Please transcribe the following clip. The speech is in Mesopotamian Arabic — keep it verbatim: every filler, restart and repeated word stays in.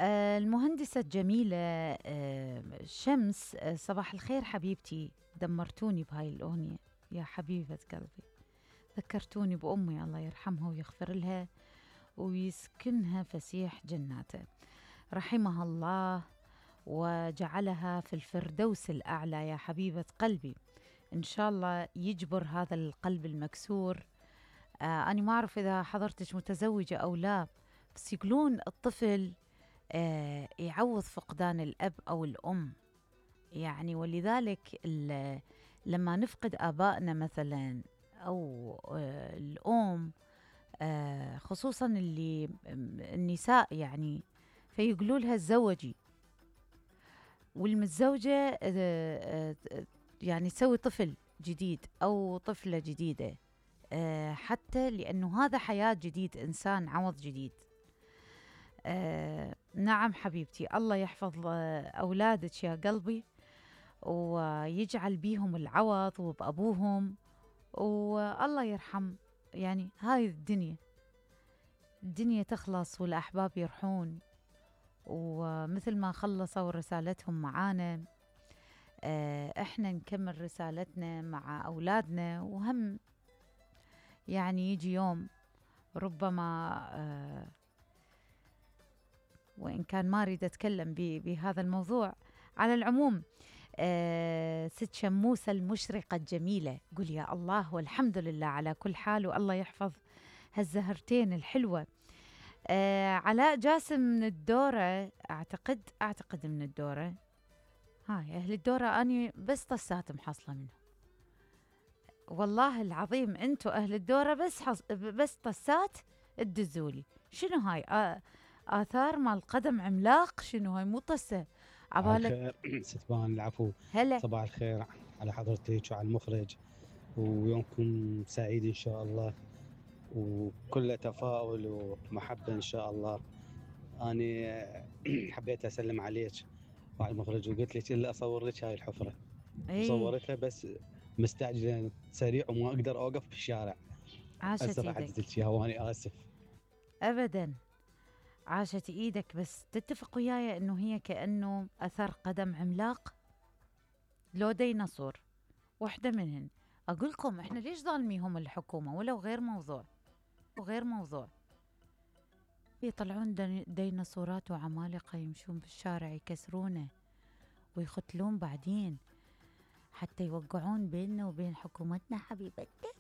آه، المهندسة الجميلة آه، شمس، آه، صباح الخير حبيبتي. دمرتوني بهاي الأغنية يا حبيبة قلبي، ذكرتوني بأمي الله يرحمها ويغفر لها ويسكنها فسيح جناته، رحمها الله وجعلها في الفردوس الأعلى يا حبيبة قلبي. إن شاء الله يجبر هذا القلب المكسور. آه أنا ما أعرف إذا حضرتك متزوجة أو لا، بس يقولون الطفل آه يعوض فقدان الأب أو الأم، يعني ولذلك لما نفقد آبائنا مثلا أو آه الأم، آه خصوصا اللي النساء يعني، فيقولوا لها تزوجي، والمتزوجة آه آه يعني تسوي طفل جديد أو طفلة جديدة، آه حتى لأنه هذا حياة جديد، إنسان عوض جديد. آه نعم حبيبتي، الله يحفظ أولادك يا قلبي ويجعل بيهم العوض وبأبوهم، والله يرحم. يعني هاي الدنيا الدنيا تخلص والأحباب يرحون، ومثل ما خلصوا رسالتهم معانا آه احنا نكمل رسالتنا مع أولادنا، وهم يعني يجي يوم ربما آه وإن كان ما أريد أتكلم بهذا الموضوع. على العموم آه ست شموسة المشرقة الجميلة، قول يا الله والحمد لله على كل حال، والله يحفظ هالزهرتين الحلوة. آه علاء جاسم من الدورة، أعتقد أعتقد من الدورة. هاي أهل الدورة أني بس طسات محصلة منه، والله العظيم أنتوا أهل الدورة بس حص... بس طسات تدزولي. شنو هاي آه آثار مال قدم عملاق؟ شنو هاي؟ مو طسة عبالك. صباح الخير ستبان، العفو. هلا صباح الخير على حضرتك وعلى المخرج، ويومكم سعيد إن شاء الله وكله تفاؤل ومحبة إن شاء الله. أنا حبيت أسلم عليك وعلى المخرج، وقلت لك إلا أصور لك هاي الحفرة، ايه وصورتها بس مستعجلة سريع وما أقدر أوقف بالشارع. عاشت هسه راح ايدك. أدز لك إياها وأنا آسف. ابدا عاشت ايدك، بس تتفق وياي انه هي كأنه اثر قدم عملاق لو ديناصور، واحدة منهن. اقول لكم احنا ليش ظالميهم الحكومة؟ ولو غير موضوع وغير موضوع، يطلعون دين- ديناصورات وعمالقة يمشون بالشارع يكسرونه ويقتلون بعدين حتى يوقعون بيننا وبين حكومتنا حبيبتنا.